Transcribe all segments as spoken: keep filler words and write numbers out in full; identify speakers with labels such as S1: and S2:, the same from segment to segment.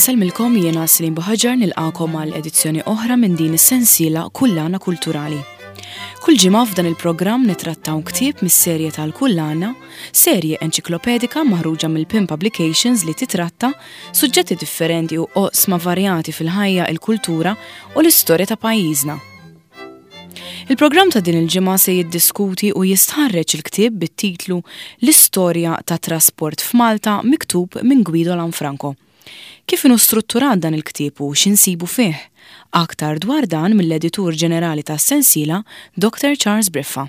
S1: Nsellmilkom, jiena Celine Buhagiar, nilqagħkom għal edizzjoni oħra minn din is-sensiela Kullana Kulturali. Kull ġimgħa f'dan il-programm nitrattaw ktieb mis-serje tal-Kullana, serje enċiklopedika maħruġa mill-PIN Publications li titratta suġġetti differenti u oqsma varjati fil-ħajja, il-kultura u l-istorja ta' pajjiżna. Il-programm ta' din il-ġimgħa se jiddiskuti u jistħarreġ il-ktieb bit-titlu L-istorja ta' trasport f'Malta, miktub minn Guido Lanfranco. Kif inhu strutturat dan il-ktieb u x'insibu fih? Aktar dwar dan mill-editur ġenerali tas-sensiela, Doctor Charles Briffa.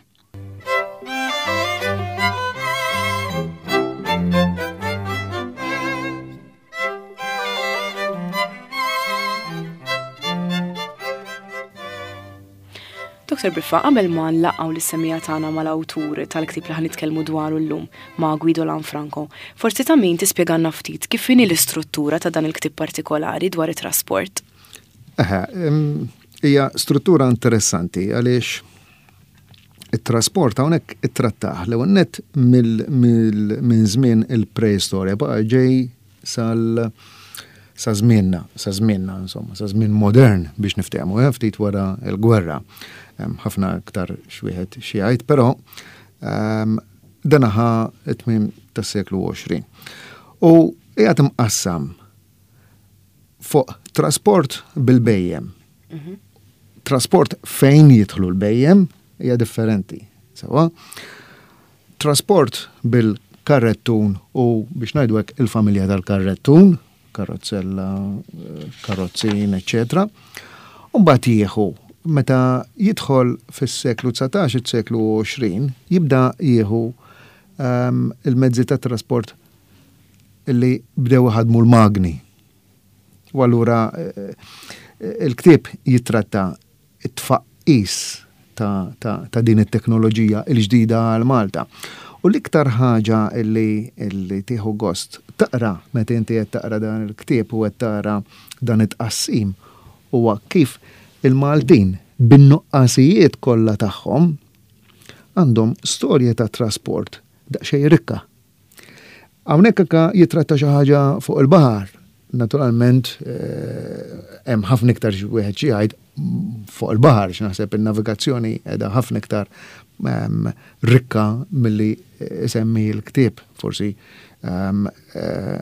S1: Doctor Briffa, qabel ma nlaqgħu lis-semmiegħa tagħna mal-awtur tal-ktieb li ħa nitkellmu dwaru llum, ma' Guido Lanfranco, forsi ta' min tispjegalna ftit kif inhi l-istruttura ta' dan il-ktieb partikolari dwar it-trasport.
S2: Eħe, hija struttura interessanti għaliex it-trasport hawnhekk ittrattah l-ewwel nett minn żmien il-preistorja baqa' ġej sal sa żmienna, sa żmienna insomma, sa żmien modern biex niftehmu, eh, ftit wara l-gwerra. Ħafna aktar x'wieħed xi jgħid, però ehm, dan ħa it-tmiem tas-seklu għoxrin. U qiegħed imqassam fuq trasport bil-bejjem.
S1: Mhm.
S2: Trasport fejn jidħlu l-bejjem hija differenti. Sewa? Trasport bil-karrettun u biex ngħidu hekk il-familja tal-karrettun, karrozzella, karrozzin, eċċetera. U mbagħad jieħu meta jidħol fis-seklu dsatax, is-seklu għoxrin, jibda jieħu, ehm, il-mezzi ta' trasport illi bdew iħadmu l-magni. U allura, eh, il-ktieb jitratta it-tfaqqis ta', ta', ta' din it-teknoloġija l-ġdida għal Malta. U l-iktar ħaġa illi, illi tieħu gost taqra meta inti qed taqra dan il-ktieb u qed tara dan it-tqassim huwa kif il-Maltin bin-nuqqasijiet kollha tagħhom għandhom storja ta' trasport daqsxejn rikka. Hawnhekk anke jitratta xi ħaġa fuq il-baħar. Naturalment, eh, hemm ħafna iktar xi wieħed xi jgħid fuq il-baħar, x'naħseb in-navigazzjoni qiegħda ħafna iktar, ehm, rikka milli isemmi l-ktieb. Forsi, ehm, eh,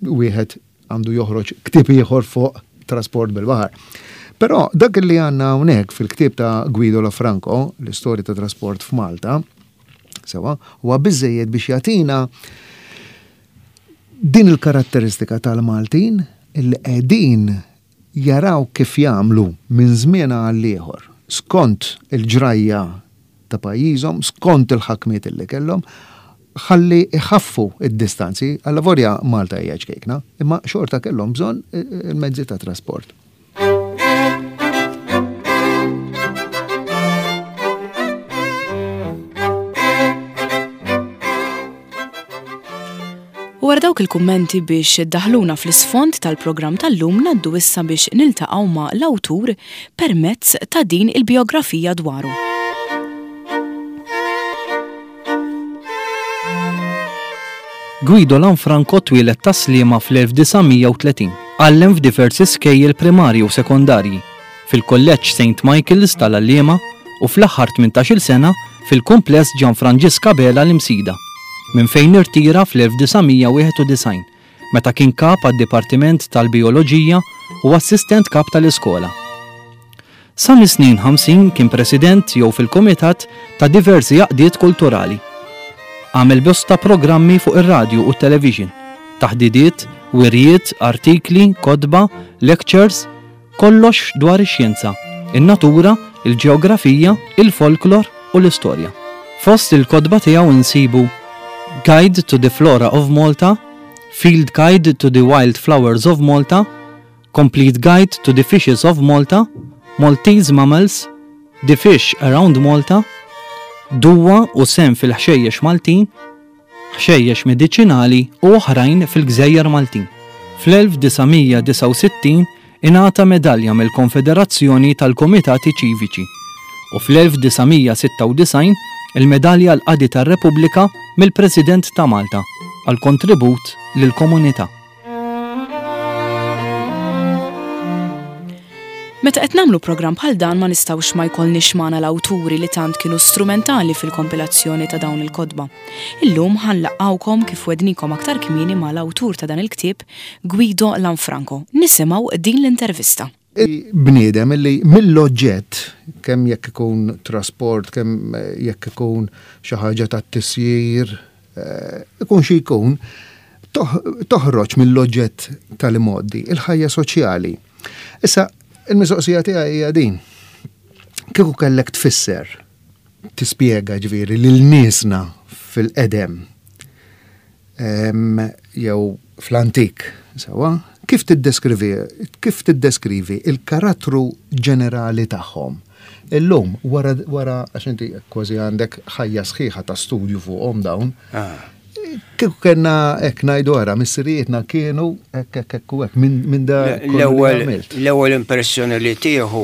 S2: wieħed għandu joħroġ ktieb ieħor fuq trasport bil-baħar. Però dak li għandna hawnhekk fil-ktieb ta' Guido Lanfranco, l-istorja ta' trasport f'Malta, sewa, huwa biżejjed biex jagħtina din il-karatteristika tal-Maltin illi qegħdin jaraw kif jagħmlu minn żmien għal ieħor skont il-ġrajja ta' pajjiżhom, skont il-ħakmiet illi kellhom, ħalli iħaffu id-distanzi. Allavolja Malta hija ċkejkna, imma xorta kellhom bżonn il-mezzi ta' trasport.
S1: U wara dawk il-kummenti biex daħluna fl-isfond tal-programm tal-lum, ngħaddu issa biex niltaqgħu ma' l-awtur permezz ta' din il-biografija dwaru.
S3: Guido Lanfranco twieled ta' Sliema fl-elf disa' mija u tletin, għallem f'diversi skejjel primarji u sekondarji, fil-Kolleġġ Saint Michael's tal-Għalliema u fl-aħħar tmintax-il sena fil-kumpless Gian Franġisk Abela l-Imsida, minn fejn irtira fl-elf disa' mija wieħed u disgħin, meta kien kap għad-Dipartiment tal-Bijoloġija u assistent kap tal-iskola. Sa mis-snin ħamsin kien president jew fil-kumitat ta' diversi għaqdiet kulturali. Għamel bosta programmi fuq ir-radju u t-television, taħdidiet, wirjiet, artikli, kotba, lectures, kollox dwar ix-xjenza, in-natura, il-ġeografija, il-folklor u l-istorja. Fost il-kotba tiegħu insibu Guide to the Flora of Malta, Field Guide to the Wild Flowers of Malta, Complete Guide to the Fishes of Malta, Maltese Mammals, The Fish Around Malta, Duwa u sem fil-ħxejjex Maltin, ħxejjex mediċinali u oħrajn fil-Gżejjer Maltin. Fl-elf disa' mija disa' u sittin ingħata medalja mill-Konfederazzjoni tal-Komitati Ċiviċi u fl-elf disa' mija sitta u disgħin il-medalja l-Qadi tar-Repubblika mill-President ta' Malta għal kontribut lill-komunità.
S1: Meta qed nagħmlu programm bħal dan ma nistgħux ma jkollniex magħna l-awturi li tant kienu strumentali fil-kompilazzjoni ta' dawn il-kotba. Illum ħa nlaqqgħukom kif wegħednikom aktar kmieni mal-awtur ta' dan il-ktieb, Guido Lanfranco. Nisimgħu din l-intervista.
S2: Bniedem illi mill-oġġett, kemm jekk ikun trasport, kemm jekk ikun xi ħaġa tat-tisjir, eh, ikun xi jkun, toħroġ mill-oġġett tal-imgħoddi, il-ħajja soċjali. Issa, il-mistoqsija tiegħi hija din. Kieku kellek tfisser, tispjega ġifieri lil niesna fil-qedem jew fl-antik, sewwa, kif tiddeskrivi kif tiddeskrivi il-karattru ġenerali tagħhom? Illum, wara wara għax inti kważi għandek ħajja sħiħa ta' studju fuqhom dawn.
S4: Ah.
S2: Kieku kellna hekk ngħidu ara, missirijietna kienu hekk hekk hekk u hekk minn da
S4: L-ewwel l-ewwel impressjoni li tieħu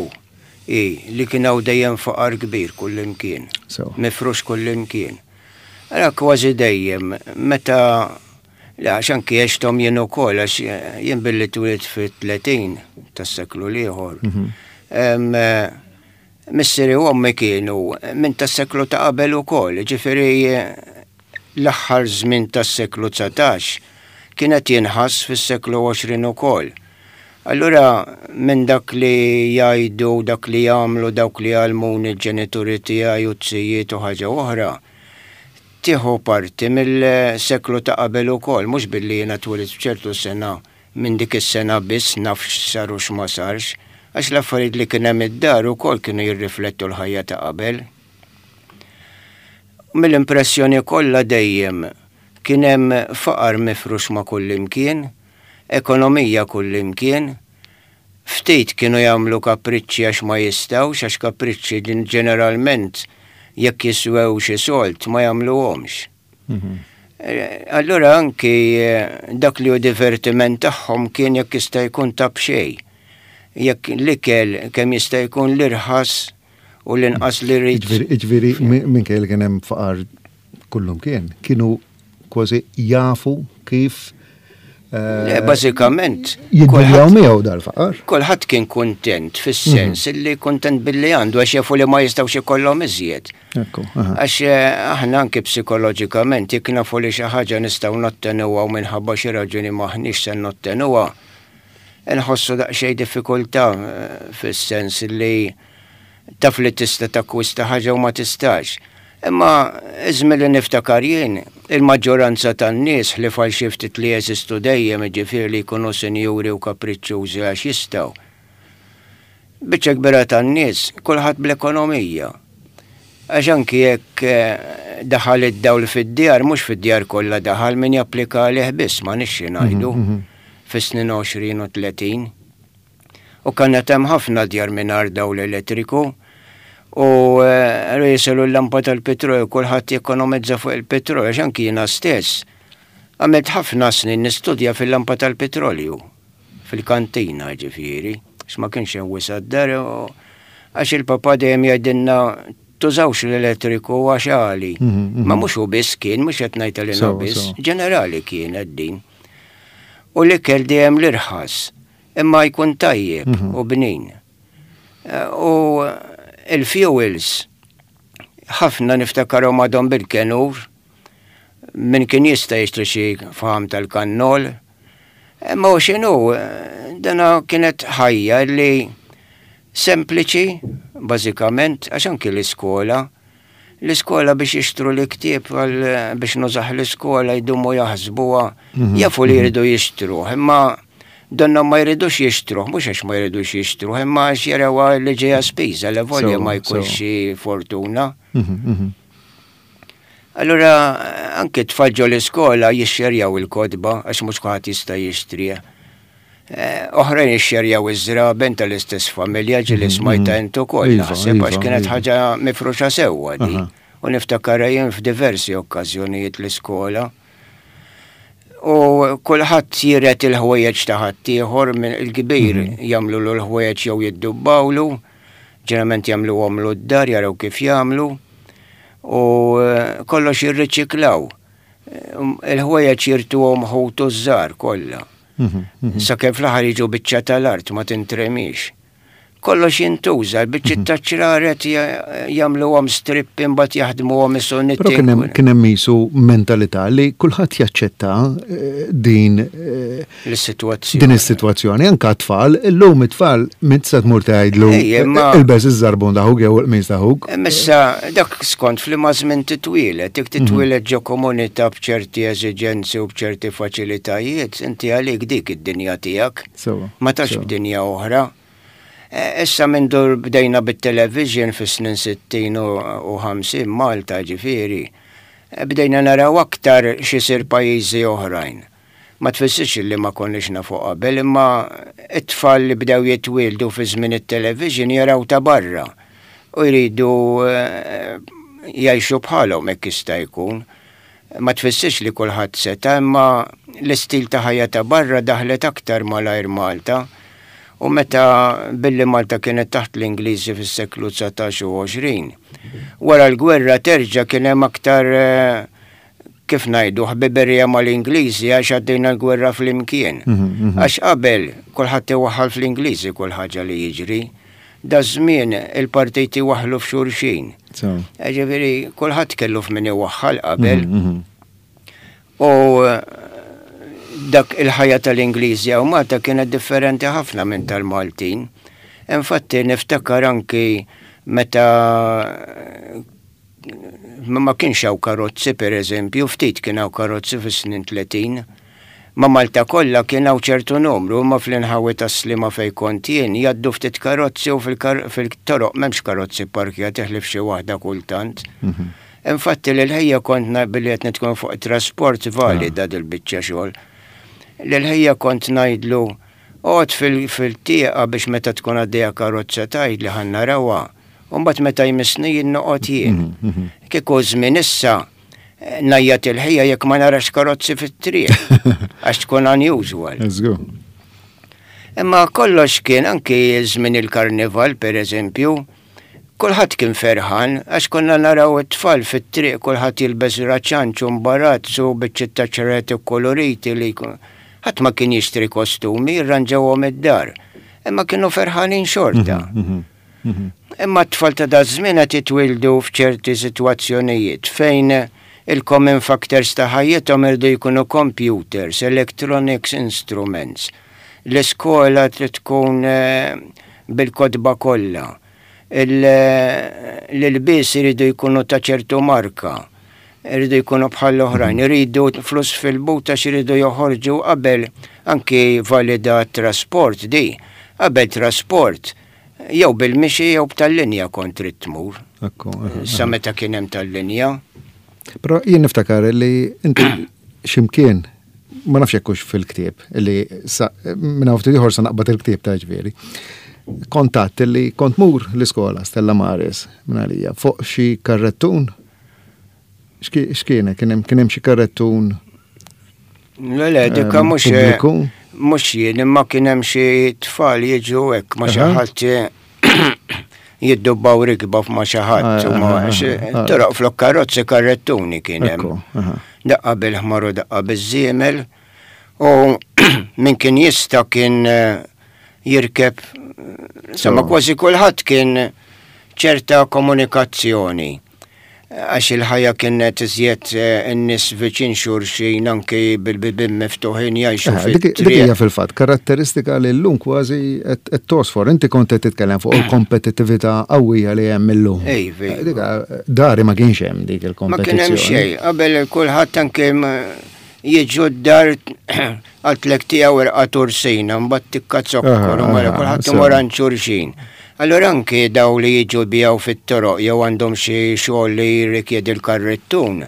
S4: hi li kien hawn dejjem faqar kbir kullimkien. Mifrux kullimkien. Ara kważi dejjem meta Le, għax anki għexthom jien ukoll, għax jien billi twelidt fit-tletin tas-seklu l-ieħor. Missieri u ommi kienu minn tas-seklu ta' qabel ukoll, ġifieri l-aħħar żmien tas-seklu dsatax kienet jinħass fis-seklu għoxrin ukoll. Allura minn dak li jgħidu, dak li jagħmlu, dawk li għallmuni l-ġenituri tiegħi u t-sijiet u ħaġa oħra, tieħu parti mill-seklu ta' qabel ukoll, mhux billi jiena twelidt f'ċertu sena minn dik is-sena biss naf x'sar u x'ma sarx, għax l-affarijiet li kien hemm id-dar ukoll kienu jirriflettu l-ħajja ta' qabel. Mill-impressjoni kollha dejjem kien hemm faqar mifrux ma' kullimkien, ekonomija kullimkien, ftit kienu jagħmlu kapriċċi għax ma jistgħux, għax kapriċċi ġeneralment jekk jiswew xi sold ma jagħmluhomx. Allura anki dak li hu divertiment tagħhom kien jekk jista' jkun ta' b'xejn. Jekk l-ikel kemm jista' jkun l-irħas u l-inqas li rrid.
S2: Ġifieri minkejja li kien hemm faqar kullum kien, kienu kważi jafu kif
S4: Le, bażikament.
S2: Jiddiljaw miegħu dal-faqar.
S4: Kulħadd kien kuntent fis-sens illi kuntent billi għandu għax jafu li ma jistgħux ikollhom iżjed.
S2: Ekku, aha.
S4: Għax aħna anki psikoloġikament jekk nafu li xi ħaġa nistgħu nottenuha u minħabba xi raġuni m'aħniex se nottenuha, nħossu daqsxejn diffikultà fis-sens li taf li tista' takkwista ħaġa u ma tistax. Imma iż-żmien li niftakar jien, il-maġġoranza tan-nies li għal xi ftit li jeżistu dejjem jiġifieri li jkunu sinjuri u kapriċċużi għax jistgħu. Biċċa kbira tan-nies kulħadd bl-ekonomija. Għax anki jekk daħal id-dawl fid-djar, mhux fid-djar kollha daħal min japplika għalih biss, ma nixxi ngħidu fis-snin għoxrin u tletin. U kienet hemm ħafna djar mingħajr dawl elettriku. U jiselu l-lampa tal-petrolju, kulħadd jekonomizza fuq il-petrolju, għax anki jiena stess. Għamilt ħafna snin nistudja fil-lampa tal-petrolju, fil-kantina ġifieri, għax ma kienx hemm wisa' d-dar, għax il-papa dejjem jgħidilna tużawx l-elettriku għax għali. Ma mhux hu biss kien, mhux qed ngħid għalina biss, ġenerali kienet din. U l-ikel dejjem l-irħas, imma jkun tajjeb u bnin. U il-fuels, ħafna niftakarhom għadhom bil-kenur, min kien jista' jixtri xi faham tal-kannol. Imma u x'inhu, dana kienet ħajja li sempliċi, bażikament, għax anki l-iskola. L-iskola biex jixtru l-ktieb biex nużaħ l-iskola jdumu jaħsbuha, jafu li jridu jixtruh, imma donna ma jridux jixtruh, mhux għax ma jridux jixtruh, imma għax jarawha li ġejja spiża, li volja ma jkunx xi fortuna. Allura anke tfal ġo l-iskola jixxerjaw il-kotba għax mhux kulħadd jista' jixtrih. Oħrajn jixxerjaw iż-żraben tal-istess familja ġieli smajta int ukoll naħseb għax kienet ħaġa mifruxa sewwa di. U niftakar jien f'diversi okkażjonijiet l-iskola. U kulħadd jiret il-ħwejjeġ ta' ħaddieħor minn il-kbir jagħmlu l-ħwejjeġ jew jiddubbawlu, ġeneralment jagħmluhomlu d-dar jaraw kif jagħmlu. U kollox jirriċiklaw. Il-ħwejjeġ jirtuhom ħutu żgħar kollha. Sakemm fl-aħħar jiġu biċċa tal-art ma tintremix. Kollox jintuża, l-biċċiet ta' ċraret jagħmluhom strippi, mbagħad jaħdmuhom isu.
S2: Però kien hemm kien hemm qisu mentalità li kulħadd jaċċetta eh, din eh,
S4: l-sitwazzjoni.
S2: Din is-sitwazzjoni, anke tfal, illum it-tfal minn se tmur tgħidlu
S4: Ej, imma-
S2: ilbes iż-żarbun ta' ħuk jew il-qmis ta' ħuk.
S4: Issa, dak skont f'liema żmien titwieled, jekk titwieled ġo komunità b'ċerti eżiġenzi u b'ċerti faċilitajiet, inti għalik dik id-dinja tiegħek.
S2: Sewa.
S4: Ma tafx
S2: sewa.
S4: b'dinja oħra. E, Issa minn dur bdejna bit-television fis-snin sittin u u ħamsin Malta ġifieri, e, bdejna naraw aktar x'isir pajjiżi oħrajn. Ma tfissirx li ma konniex nafu qabel, imma it-tfal li bdew jitwieldu fi żmien it-television jaraw ta' barra u jridu eh, jgħixu bħalhom hekk jista' jkun. Ma tfissirx li kulħadd seta', imma l-istil ta' ħajja ta' barra daħlet aktar malajr Malta. U meta billi Malta kienet taħt l-Ingliżi fis-seklu dsatax u għoxrin. Wara l-gwerra terġa' kien hemm aktar, eh, kif ngħidu, ħbiberija mal-Ingliżi għax għaddejna l-gwerra flimkien. Għax qabel kulħadd iwaħħal fl-Ingliżi kull ħaġa li jiġri. Da żmien il-partiti waħlu f'xulxin.
S2: Sewa.
S4: Ġifieri kulħadd kellu f'min iwaħħal qabel.
S2: Mhm.
S4: U eh, dak il-ħajja tal-Ingliżi u Malta kienet differenti ħafna minn tal-Maltin. Infatti niftakar anki meta ma ma kienx hawn karozzi, per eżempju, ftit kien hawn karozzi fis-snin tletin. Ma Malta kollha kien hawn ċertu numru, ma fl-inħawi tas-Sliema fejn kont jien jgħaddu ftit karozzi u fil-kar- fil-toroq m'hemmx karozzi parkjati ħlief xi waħda kultant. Infatti l-ħajja kont na- billi qed nitkellem fuq trasport valida dil-biċċa xogħol. L-ħajja kont ngħidlu oqgħod fil-tieqa biex meta tkun għaddejja karozza tgħid li ħa narawha. U mbagħad meta jmissni jien noqgħod jien. Kieku żmien issa eh, ngħajjat il-ħija jekk ma narax karozzi fit-triq għax tkun unusual.
S2: Let's go.
S4: Imma kollox kien, anki żmien il-karnival, per eżempju, kulħadd kien ferħan għax konna naraw it-tfal fit-triq, kulħadd jilbes raċanċ u mbarazz u biċċiet ta' ċreti koloriti li jkun- ħadd ma kien jixtri kostumi, jirranġawhom id-dar. Imma kienu ferħanin xorta. Imma t-tfal ta' da żmien qed jitwildu f'ċerti sitwazzjonijiet fejn il-common factors ta' ħajjithom irdu jkunu computers, electronics instruments. L-iskola trid tkun eh, bil-kotba kollha. Il- L-ilbies iridu jkunu ta' ċertu marka. Iridu jkunu bħal oħrajn, iridu flus fil-but għax iridu joħorġu. Qabel anki valida trasport di. Qabel trasport jew bil-mixi jew b'tal-linja kont trid tmur.
S2: Ekku, aha.
S4: Sa meta kien hemm tal-linja.
S2: Però jien niftakar li inti ximkien, ma nafx jekk hux fil-ktieb, li sa minn hawn ftit ieħor sa naqbad il-ktieb ta' ġifieri. Kontatt li kont mur l-iskola Stella Maris minn għalija fuq xi karrettun. X'ki- X'kien kien hemm kien hemm xi karrettun
S4: Le, le, dikka
S2: Ehm,
S4: mhux
S2: pubbliku?
S4: Mhux jien, imma kien hemm xi tfal jiġu hekk ma xi
S2: Aha.
S4: ħadd jiddubbaw rikba ma xi ħadd u ma
S2: Ah, ah,
S4: xi-
S2: ah, ah.
S4: toroq flok karozzi karrettuni kien hemm.
S2: Ekku, aha.
S4: Daqqa bil-ħmar u daqqa biż-żiemel u min kien jista' kien eh, jirkeb, sama
S2: So.
S4: kważi kulħadd kien ċerta komunikazzjoni. Għax il-ħajja kienet iżjed eh, in-nies viċin xulxin, anki bil-bibien miftuħin jgħixu
S2: Eh, Dik dik hija fil-fatt karatteristika li llum kważi qed tosfor. Inti kont qed titkellem fuq il-kompetittività qawwija li hemm illum.
S4: Ej, vej.
S2: Eh, Dik dari ma kienx hemm dik
S4: Ma
S2: il-kompetizzjoni.
S4: kien hemm xejn, qabel kulħadd anke ma- jiġu d-dar għaltlek tiegħu irqa tursina, mbagħad tikka zokkor, u mara kulħadd imur għand xulxin. Allora anke daw li jiġu bijaw fit-toroq jew għandhom xi xogħol li jirrikjedi l-karrettun,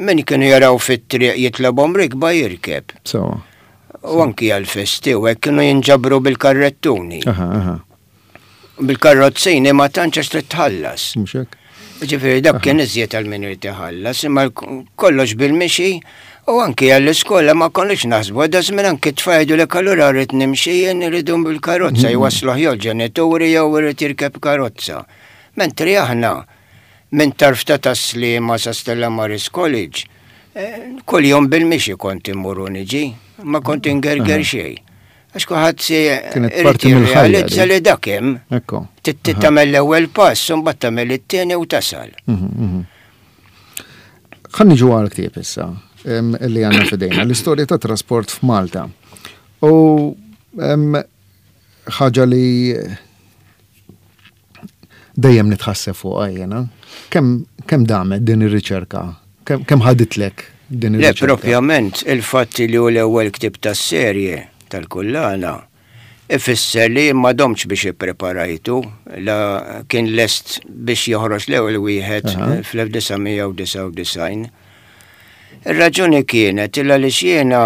S4: min kienu jaraw fit-triq jitlabhom rikba jirkeb.
S2: So.
S4: U anki għal-festi u hekk kienu jinġabru bil-karrettuni.
S2: Aha, aha.
S4: Bil-karrozzini ma tantx għax trid tħallas.
S2: Mhux hekk?
S4: Ġifieri dak kien iżjed għal min irid iħallas, imma kollox bil-mixi u anki għall-iskola ma konniex naħsbu, da żmien anki tfajdu li allura rrid nimxi jien, irridu bil-karozza jwasluh jew ġenituri jew irid jirkeb karozza. Mentri aħna minn tarf ta' Tas-Sliema sa Stella Maris College, eh, kull jum bil-mixi kont immur u niġi, ma kont ingerger xejn. Għax kulħadd se irid jirrealizza li dak hemm.
S2: Ekku.
S4: Tagħmel l-ewwel pass, u mbagħad tagħmel it-tieni u tasal.
S2: Mhm, mhm. Ħa niġu għal ktieb issa li għandna f'idejna, l-istorja ta' trasport f'Malta. U ħaġa li dejjem nitħasseb fuqha jiena. Kemm kemm damet din ir-riċerka? Kemm ħaditlek din
S4: Le,
S2: ir-riċerka?
S4: propjament, il-fatt li hu l-ewwel ktieb tas-serje tal-kullana ifisser li ma domtx biex ippreparajtu, la kien lest biex joħroġ l-ewwel wieħed
S2: Aha.
S4: fl-elf disa' mija u disgħa u disgħin. Ir-raġuni kienet illa li jiena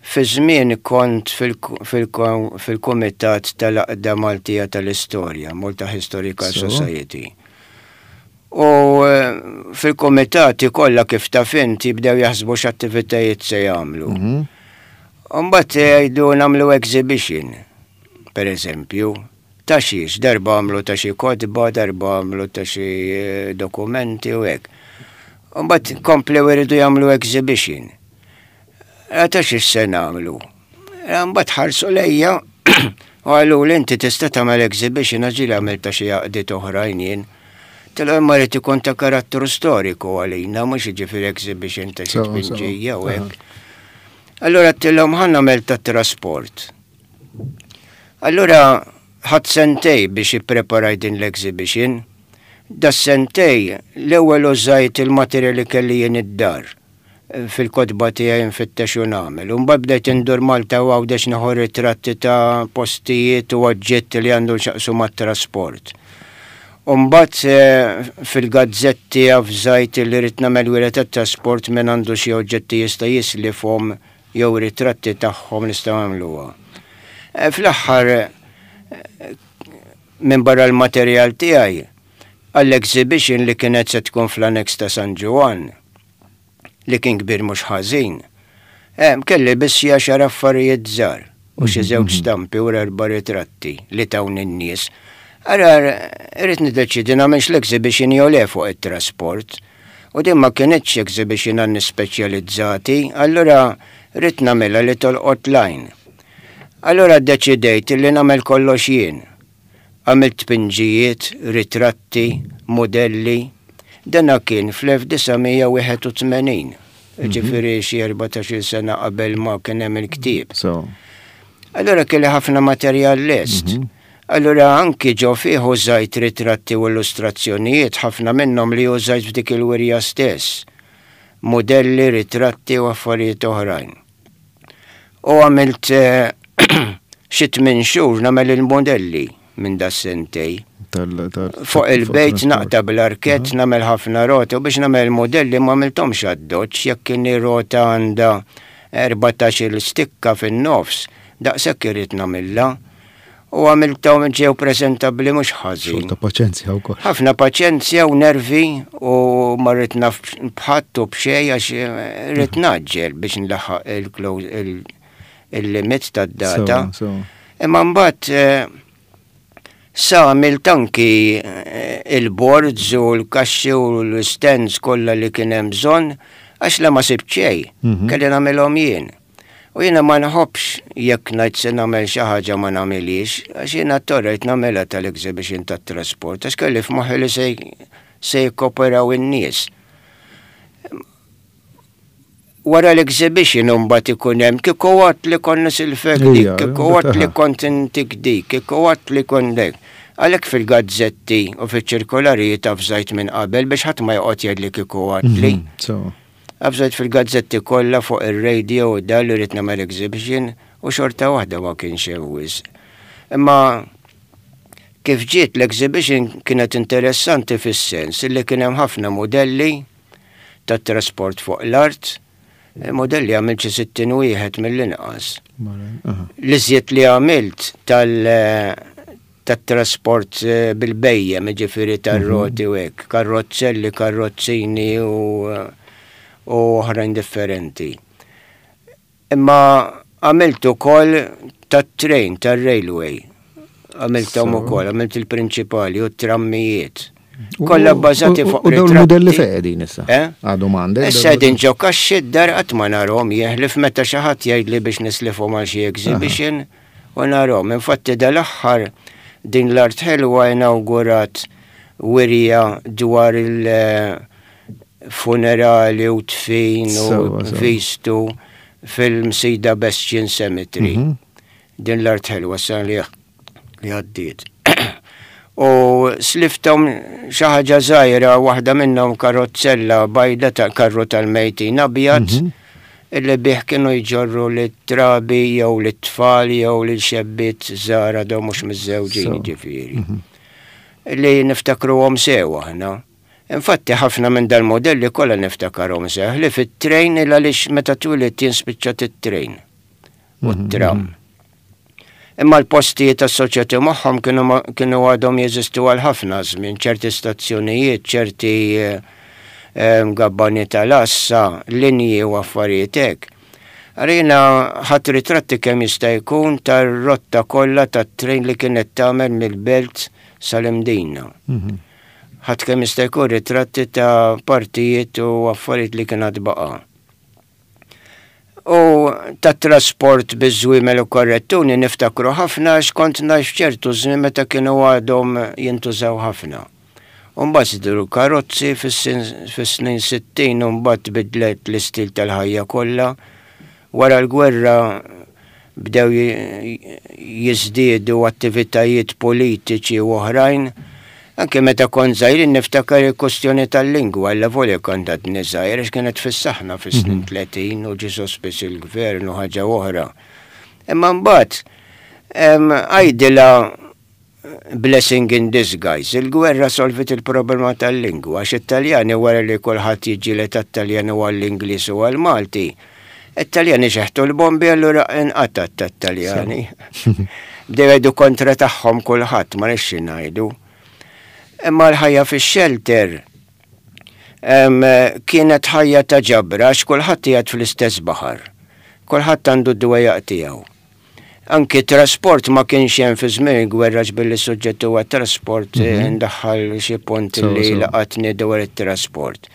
S4: fi żmien kont fil-Kumitat tal-Għaqda Maltija tal-Istorja, Malta Historical
S2: So.
S4: Society. U eh, fil-komitati kollha, kif taf inti, jibdew jaħsbu x'attivitajiet se jagħmlu.
S2: Mhm.
S4: Mbagħad jgħidu nagħmlu exhibition, per eżempju, ta' xiex, darba għamlu ta' xi kotba, darba għamlu ta' xi eh, dokumenti u hekk. Mbagħad komplew iridu jagħmlu exhibition. Eh, Ta' xiex se nagħmlu? Eh, Mbagħad ħarsu lejja u qalu li inti tista' tagħmel exhibition, għax ġieli għamilt ta' xi għaqdiet oħrajn jien. Tela imma rrid ikun ta' karattru storiku għalina, mhux jiġifieri exhibition ta' xi
S2: So, so.
S4: tpinġija u hekk. Allora għedtilhom ħa nagħmel ta' trasport. Allora ħadt sentejn biex ippreparaj din l-exhibition. Da sentejn l-ewwel użajt il-materjal li kelli jien id-dar fil-kotba tiegħi nfittex u nagħmel. U mbagħad bdejt indur Malta u Għawdex nieħu ritratti ta' postijiet u oġġetti li għandhom x'jaqsmu mat-trasport. U mbagħad eh, fil-gazzetti avżajt li rrid nagħmel wirja tat-trasport, minn għandu xi oġġetti jista' jislifhom jew ritratti tagħhom nistgħu nagħmluha. Eh, Fl-aħħar eh, minn barra l-materjal tiegħi għall-exhibition li kienet se tkun fl-annex ta' San Ġwann, li kien kbir mhux ħażin. Eh, kelli biss xi għaxar affarijiet żgħar u xi żewġ stampi u erba' ritratti li tawni n-nies. Ara, irrid niddeċidi nagħmelx l-exhibition jew le fuq it-trasport. U din ma kienitx exhibition għan speċjalizzati, allura rrid nagħmilha li tolqot l-għajn. Allura ddeċidejt li nagħmel kollox jien. Għamilt tpinġijiet, ritratti, modelli. Dana kien fl-elf disa' mija u wieħed u tmenin. Ġifieri xi erbatax-il sena qabel ma kien hemm il-ktieb.
S2: So,
S4: Allora kelli ħafna materjal lest. Allura anki ġo fih użajt ritratti u illustrazzjonijiet, ħafna minnhom li użajt f'dik il-wirja stess. Modelli, ritratti u affarijiet oħrajn. U għamilt eh, xi tmien xhur nagħmel il-modelli minn da sentejn.
S2: tal, tal,
S4: Fuq il-bejt
S2: trasport.
S4: naqta bl-arkett, nagħmel ħafna rota u biex nagħmel modelli ma għamilthomx addoċ, jekk kien rota għandha erbatax-il stikka fin-nofs, daqshekk irrid nagħmilha. U għamilthom, ġew preżentabbli mhux ħażin.
S2: Xogħol ta' paċenzja wkoll.
S4: Ħafna paċenzja u nervi u ma rrid naf b'ħadd u b'xejn, għax eh, rrid ngħaġġel biex nlaħħaq il-close- il- il-limit tad-data.
S2: So, so.
S4: Imma mbagħad eh, sa għamilt anki eh, il-boards u l-kaxxi u l-stands kollha li kien hemm bżonn, għax la ma sibt xejn,
S2: Mhm.
S4: kelli nagħmilhom jien. U jiena ma nħobbx jekk ngħid se nagħmel xi ħaġa ma nagħmilix, għax jiena torrejt nagħmilha tal-exhibition tat-trasport, għax kelli f'moħħi li se se jikkoperaw in-nies. Wara l-exhibition mbagħad ikun hemm kieku għat li konna silfek dik,
S2: Ija,
S4: kieku għat li
S2: aha.
S4: kont intik dik, kieku għat li kont dek. Għalhekk fil-gazzetti u fil-ċirkolarijiet avżajt minn qabel biex ħadd ma joqgħod jgħid kieku għat li.
S2: Mhm, So,
S4: Avżajt fil-gazzetti kollha, fuq ir-radio u da li rrid nagħmel exhibition, u xorta waħda ma kienx hemm wisq. Imma kif ġiet l-exhibition kienet interessanti fis-sens li kien hemm ħafna modelli tat trasport fuq l-art, eh, modelli għamilt xi sittin wieħed mill-inqas.
S2: mara, aha.
S4: L-iżjed li għamilt tal tat-trasport eh, bil-bhejjem, ġifieri tar-roti u hekk, karrozzelli, karrozzini u u oħrajn differenti. Imma għamilt ukoll tat-train, tar-railway. Għamilthom
S2: So.
S4: ukoll, għamilt il-prinċipali u t-trammijiet. Kollha bbażati
S2: U-
S4: fuq
S2: U dawn
S4: ritratti.
S2: il-modelli fejn qegħdin issa?
S4: Eh?
S2: Għadu m'għandek?
S4: Issa din ġo kaxxi d-dar, qatt ma narhom, jeħlif meta xi ħadd jgħidli biex nislifhom għal xi exhibition. U narahom. Infatti dal-aħħar din l-Art Ħelwa inawgurat wirja dwar il-funerali u tfin u vistu fil-Msida Bastion Cemetery. Mhm. Din l-Art Ħelwa sa li għaddiet. U slifthom xi ħaġa żgħira, waħda minnhom karozzella bajda ta' karru tal-mejtin abjad, mhm. illi bih kienu jġorru lit-trabi jew lit-tfal jew lil xebbiet żgħar għadhom mhux miżżewġin ġifieri. Mhm. Li niftakruhom sew aħna. Infatti ħafna minn dal-modelli kollha niftakarhom sew li fit-train il għaliex meta twilidt jien spiċċat it-train u mhm, t-tram. Mhm. Imma l-postijiet assoċjati magħhom kienu għadhom jeżistu għal ħafna żmien, ċerti stazzjonijiet, ċerti eh, gabbani tal-assa, linji u affarijiet hekk. Għarina ħadt ritratti kemm jista' jkun tar-rotta kollha tat-train li kienet tagħmel mill-Belt sal-Imdina. Mhm. Ħadt kemm jista' jkun ritratti ta' partijiet u affarijiet li kienet baqa'. U ta' trasport biż-żwiemel u karrettuni niftakru ħafna għax kont ngħix ċertu żmien meta kienu għadhom jintużaw ħafna. Umbagħad żdiedu karozzi fis-snin sittin u mbagħad bidlet l-istil tal-ħajja kollha. Wara l-gwerra bdew jiżdiedu attivitajiet politiċi u oħrajn. Anke meta kont żgħir niftakar il-kwestjoni tal-lingwa, allavolja kont għadni żgħir għax kienet fis-saħna fis-snin mhm. tletin u ġie sospiż il-gvern u ħaġa oħra. Imma mbagħad għajdilha blessing in disguise. Il-gwerra solvit il-problema tal-lingwa, għax it-Taljani wara li kulħadd jiġġieled għat-Taljan u għall-Ingliż u għall-Malti, it-Taljani xeħtu l-bombi allura inqatat tat-Taljani. Bdew jgħidu kontra tagħhom kulħadd, ma nixxi ngħidu. Imma l-ħajja fix-shelter kienet ħajja ta' ġabra għax kulħadd qiegħed fl-istess baħar. Kulħadd għandu d-dwejjaq tiegħu. Anki trasport ma kienx hemm fi żmien il-gwerra billi suġġett huwa trasport mhm. ndaħħal xi punt li laqatni dwar it-trasport.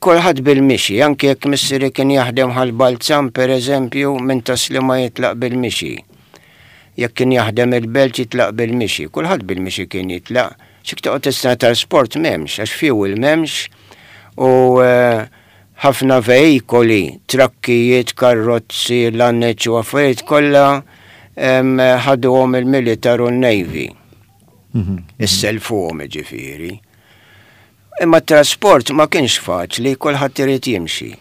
S4: Kulħadd bil-mixi, anki jekk missieri kien jaħdem Ħal Balzan per eżempju, minn Tas-Sliema jitlaq bil-mixi. Jekk kien jaħdem il-Belt jitlaq bil-mixi, kulħadd bil-mixi kien jitlaq. Xik toqgħod tistenna trasport m'hemmx, għax fuel m'hemmx u eh, ħafna veikoli, trakkijiet, karozzi, lanneċ u affarijiet kollha ħaduhom il-militar u n-Navy. Mhm. Isselfuhom ġifieri. Imma trasport ma kienx faċli, kulħadd irid jimxi.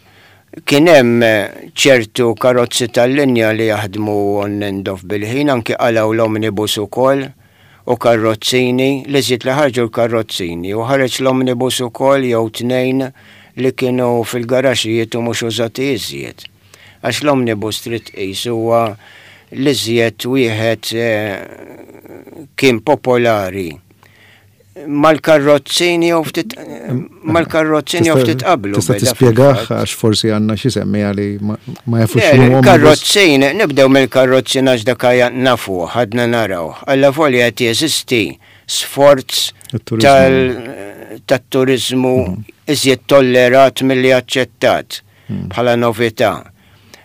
S4: Kien hemm ċertu karozzi tal-linja li jaħdmu on and off bil-ħin, anki qalgħu l-omnibus ukoll u karrozzini, li żied li ħarġu l-karrozzini u ħareġ l-omnibus ukoll jew tnejn li kienu fil-garaxijiet u mhux użati iżjed. Għax l-omnibus trid tqis huwa l-iżjed wieħed eh, kien popolari mal-karrozzini jew ftit mal-karrozzini jew ftit qablu.
S2: Tista' tispjegah għax forsi għandna xi semmiegħa li ma jafux.
S4: Karrozzin, nibdew mill-karrozzin għax dak nafu, ħadna naraw. Allavolja qed jeżisti sforz tat-turizmu mhm. iżjed tollerat milli aċċettat mhm. bħala novità.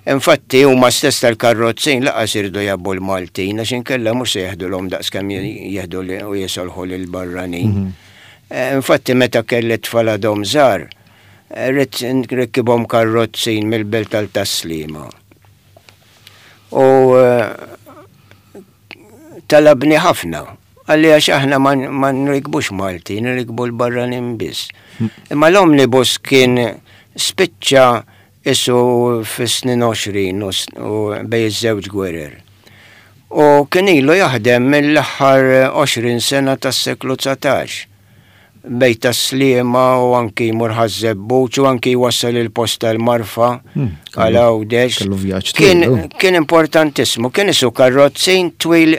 S4: Infatti huma stess tal-karrozzin lanqas iridu jgħabbu l-Maltin għax inkella mhux se jeħdulhom daqskemm jieħdu u jisolħu lil barranin. Mhm. Eh, infatti meta kelli tfal għadhom żgħar, ridt nrikkibhom karrozzin mill-Belt għal Tas-Sliema. U eh, talabni ħafna. Qalli għax aħna ma nrikbux Malti, nrikbu l-barranin biss. Mhm. Imma l-omnibus kien spiċċa isu fis-snin għoxrin u bejn iż-żewġ gwerer. U kien ilu jaħdem mill-aħħar għoxrin sena tas-seklu dsatax. Bejn Tas-Sliema u anki jmur Ħaż-Żebbuġ u anki jwassal il-posta l-Marfa hmm, għal Għawdex. Kien, kien importantissimu, kien isu karrozzin twil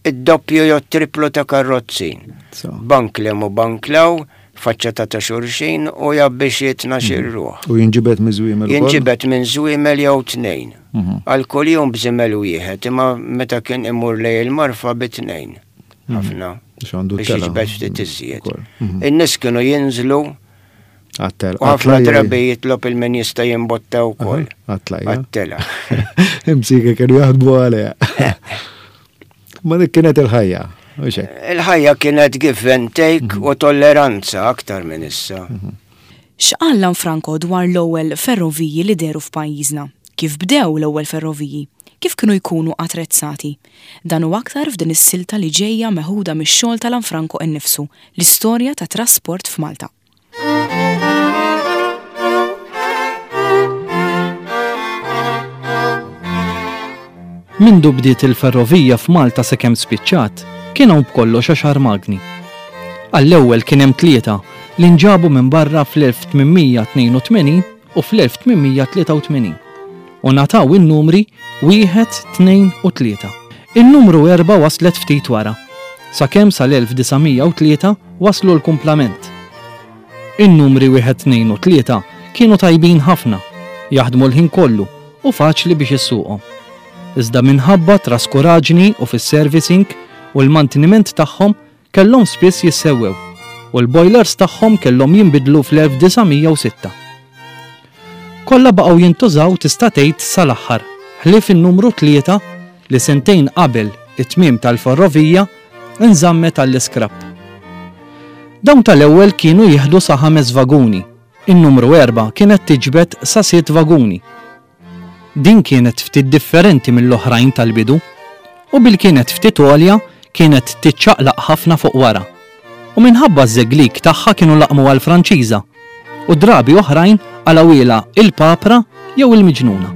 S4: id-doppju jew triplu ta' karrozzin. Bank 'l hemm u bank 'l hawn, faċċata ta' xulxin u jgħabbi xi tnax-il mhm. ruħ.
S2: U jinġibed minn żwiemel?
S4: Jinġibed minn żwiemel jew tnejn. Mhm. Għal kull jum b'żiemel wieħed, imma meta kien imur lejn il-Marfa bi tnejn. Mhm. Ħafna. Biex jiġbed ftit iżjed. In-nies kienu jinżlu
S2: Għat-telgħa.
S4: U ħafna drabi jitlob il-min jista' jimbotta wkoll.
S2: Għat-tlajja.
S4: Għat-telgħa.
S2: Imsika kienu jaħdmu għaliha. Ma dik kienet il-ħajja. U xek.
S4: Il-ħajja kienet give and take u tolleranza aktar minn issa.
S1: X'qal Lanfranco dwar l-ewwel ferroviji li dehru f'pajjiżna? Kif bdew l-ewwel ferroviji? Kif kienu jkunu attrezzati? Dan u aktar f'din is-silta li ġejja meħuda mix-xogħol ta' Lanfranco innifsu, l-istorja ta' trasport f'Malta.
S3: Mindu bdiet il-ferrovija f'Malta sakemm spiċċat, kien hawn b'kollox għaxar magni. Għall-ewwel kien hemm tlieta li nġabu minn barra fl-elf tmien mija tnejn u tmenin u fl-elf tmien mija tlieta u tmenin u ngħataw in-numri wieħed, tnejn u tlieta. In-numru erba' waslet ftit wara, sakemm sal-elf disa' mija u tlieta waslu l-kumplament. In-numri wieħed, tnejn u tlieta kienu tajbin ħafna, jaħdmu l-ħin kollu u faċli biex issuqhom. Iżda minħabba traskuraġni u fis-servicing u l-manteniment tagħhom kellhom spiss jissewwew u l-boilers tagħhom kellhom jinbidlu fl-elf disa' mija u sitta. Kollha baqgħu jintużaw tista' tgħid sal-aħħar, ħlief in-numru tlieta li sentejn qabel it-tmiem tal-ferrovija nżammet għall-iskrap. Dawn tal-ewwel kienu jieħdu sa ħames vaguni, in-numru erba' kienet tiġbed sa sitt vaguni. Din kienet ftit differenti mill-oħrajn tal-bidu u bil kienet ftit għolja kienet tiċċaqlaq ħafna fuq wara. U minħabba ż-żeglik tagħha kienu laqmu għal-Franċiża u drabi oħrajn għalawila il-papra jew il-miġnuna.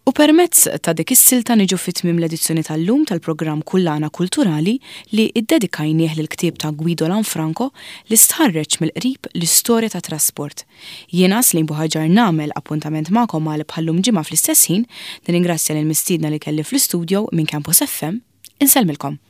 S1: U permezz ta' dik is-silta niġu fit-tmiem l-edizzjoni tal-lum tal-programm Kullana Kulturali li iddedikajnieh lill-ktieb ta' Guido Lanfranco li stħarreġ mill-qrib l-istorja ta' trasport. Jiena Celine Buhagiar nagħmel appuntament magħkom għal bħallum ġimgħa fl-istess ħin, nirringrazzja lil mistiedna li kelli fl-istudio minn Campus F M. Insellmilkom.